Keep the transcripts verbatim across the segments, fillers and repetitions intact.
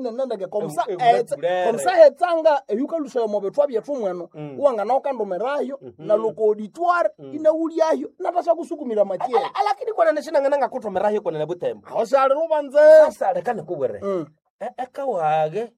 enenendeke komusa Ewu- ewula etsa- kulere. komusa hetsanga eyukalusayo omo bithwa byethu mweno Mm. uwangana ukandumirayo Mhm. na loko auditoire Mm. inawulyayo natashakusukumira matiere Ala- Alakini kwana shinangana ngakuthomerayo kwana na butembo. aho shali lubanze Sasa leka nikubwire. Mm. E- Ekawage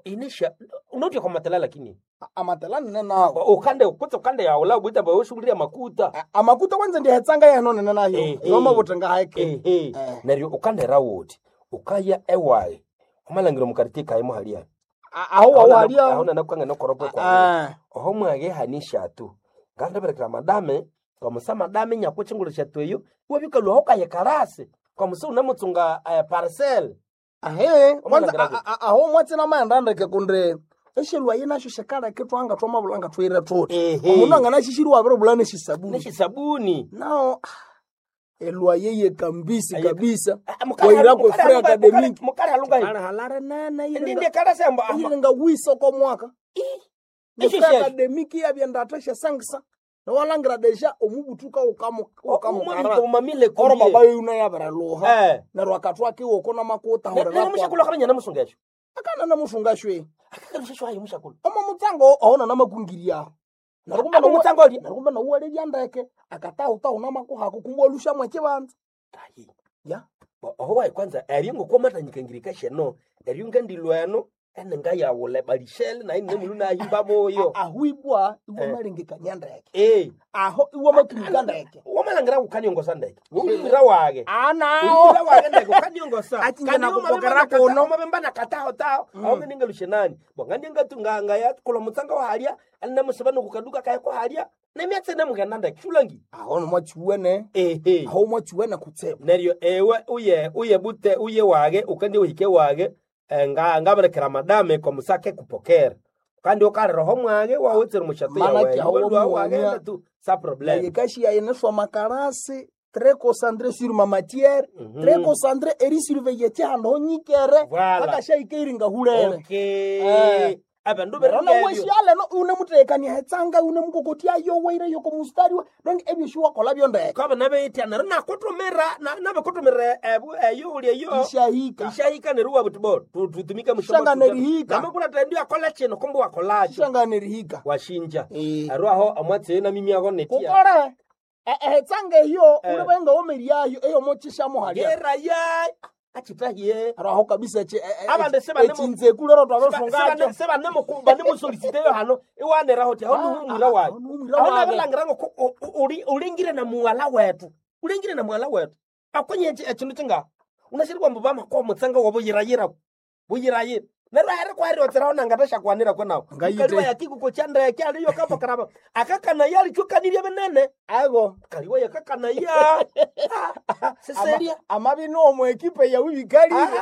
inisha unotya kwa matela lakini. A- amatela nene nawo Ukande kutse ukande yaula butembo yoshughulia makuta. A- amakuta kwanza ndihetsanga yeno nene nayo Eh, eh. yomabuthi ngaheke Ehe. Eh. Neryo ukandera wuthi ukaya ewaye. Umalangiro mukartie kaye muhalia. A- aho wawo Aho halya nanakukanga nokoropo kwa. Ah, Oho mwage hanishatu. Ngandaberekera madame kwamusa madame nyakuchingulu shatu eyo wabikalwa ukaye karasi. Kwamusa unamutsunga eh, parcel. ahe kwanza Omalangiro a- a- a- aho mwatsi namaendandeke kundi eshelwa ye nasho shikaleke twanga twamabulanga twire thuthi Ehe. omundu anganashishiri wabiribula neshisabuni Neshisabuni. nao elwa yeye kambisi Aye- kabisa Ah, mukali waira halu- kwe mukali free halu- academic mukali halunga Kale halare nene ndinde karasi amba iringa wisa kwa mwaka Esho free shesho. academic yabyenda shesangisa nawalangira deja omubutuka ukamukara umamile oro baba yuna yabiraluha eh neryo akatwa kiwoko namakuta nero mushakulu akabenya namusunga esho akana namusunga shwe akakarusha ayo mushakulu omo mutsango aona namakungiri aho Abo mutsango ali neryo kumbe nauwalelya ndeke akatahutahu namakuhako kumbe walushamwe ekibanza Tayi. ya Bo- oho wayi kwanza eryo ngokomatanyikangirika sheno eryo ngandilweno enenga yawule balishele nayi nemulu nahimba boyo ahwibwa Eh. iwamalengekania ndeke eh aho iwamatumika ndeke wamalangiraku ukaniongosa ndeke wumwira wage anao Wumwira wage ndeke ukaniongosa Achinje Kandi nakupokera umabemba kuno. umabemba nakataho taho Mm. aho ngeningalushe nani bongandi ngatunga ya kula mutsanga wahalya alinamusaba nokukaduka kaya kuhalya nemyatse nemugenda ndeke shulangi aho nomwachiwene ehe aho mwachiwene kutsibu neryo ewe uye uye bute uye wage ukandi uhike wage eh, nga ngaberekera madame kwa musake kupokera kandi ukaliraho mwage wawutsire mushato Manake aho yawe wamuwania- wagenda tu sa problem yekashi yayeneswa makarasi très concentré sur ma matière Mhm. très concentré eri surveiller chihandu honyikere Voilà. akashaikeiringa hulele okay Eh. abandu rona berengevyo weshialeno unemutekania hetsanga unemukokotia yoweire yoko mustari we donc ebyo shiwakola byondeke kaba nabeitya neryo nakutumira na- nabekutumira ebu eyo uli eyo ishahika ishahika neryo wabuti bo tu- tutumike Shanga nerihika. namakulatendio akola chino kumbe wakolacho shanga nerihika washinja Eh. arw aho amwatsi namimiago netia kukore ehetsanga eyo Eh. ulibenga womeriayo eyo mochishamo halia geraya achitahiye araho kabisa echi- e- e- Abandu sebanemo- echinzeku lero twabesungacho sebanemusolisiteyo hano iwaneraho ti aho niwumwira wayo aho niwumwira aho wage. nabilangira ngo ulingire na muwala wetu ulingire na muwala wetu akonye echindu chinga unashiri kwamba bamakoa mutsanga wa buyirayira buyirayira neryo aheri kwaheriwotseraho nangatashakwanira kwenawo Ngayite. kaliwa yakikuko chandeke aliyo kapokaraba akakana yalichukanirie binene ago kaliwa yakakanaya seseria amabino omu ekipe yawe bikalire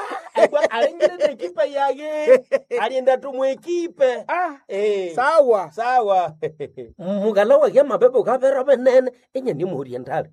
alingire nekipe yage alienda tumwekipe Ah, Eh. sawa sawa mugala wage mabebe ukavera venene enyani muhurie ndale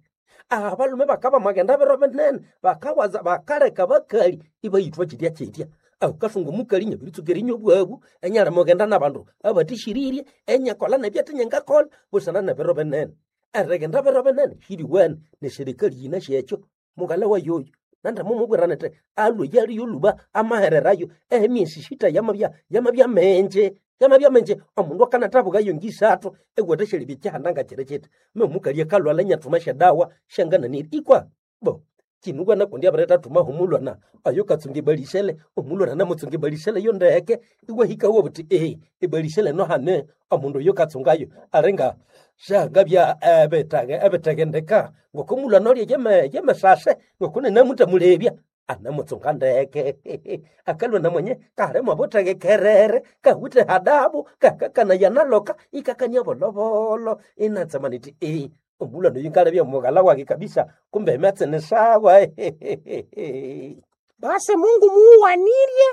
abalume bakaba magenda bero venene bakawaza bakaleka bakali ibayithwa chitya chitya aukasunga mukali nyabiritsuka erinyo bwabu enyala mugenda nabandu abatishiririe enyakola nebyate nyengakola busana nebiro binene erigenda biro binene hiriwene neserikali yina shekyo mugala wayoyo nanda mumubwira nete alwe yaliyo luba amahererayo emyesi shita yamabya yamabya menje yamabya menje omundu akanathabukayo ngisathu ewatha syalibya kyihanda ngakyiri kyiti memukalya kalwala nyathuma syadawa syangananiri ikwa bo kinugwana kundi abirithathuma humulwana ayo katsunga ebalisele omulwana namutsunga ebalisele yo ndeke iwahikawo buthi ee ebalisele nohane omundu oyo katsungayo alinga syangabya ebitege ebitegendeka ngokomulwana olya yeme yemesase ngokunenamutamulebya anamutsunga ndeke akalwa namwenye kalimo butegekerere kawithe hadabu kakakana yanaloka ikakania bolobolo inatsema niti ee omulwana oyu ngalebya mughala wake kabisa kumbe ematsene sawa Basi Mungu muwanirye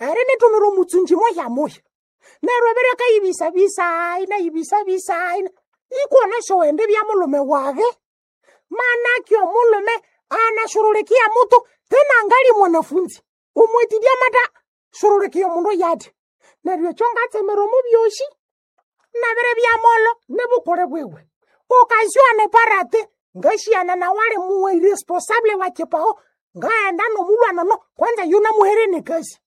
ere nitumira omutsunji moya moya neryo ebere akayibisabisa inayibisabisa ina ikona showende bya mulume wage manake omulume anashurulikia mutu tena angali mwanafunzi umwetidia mata shurulikia omundu yati neryo ekyo ngatsemera omu byoshi nabere bya molo nibukule bwiwe okazio parate ngashiana na wale muwe irresponsable wa chipao ngaenda nomulwana no kwanza yuna muhere ni kazi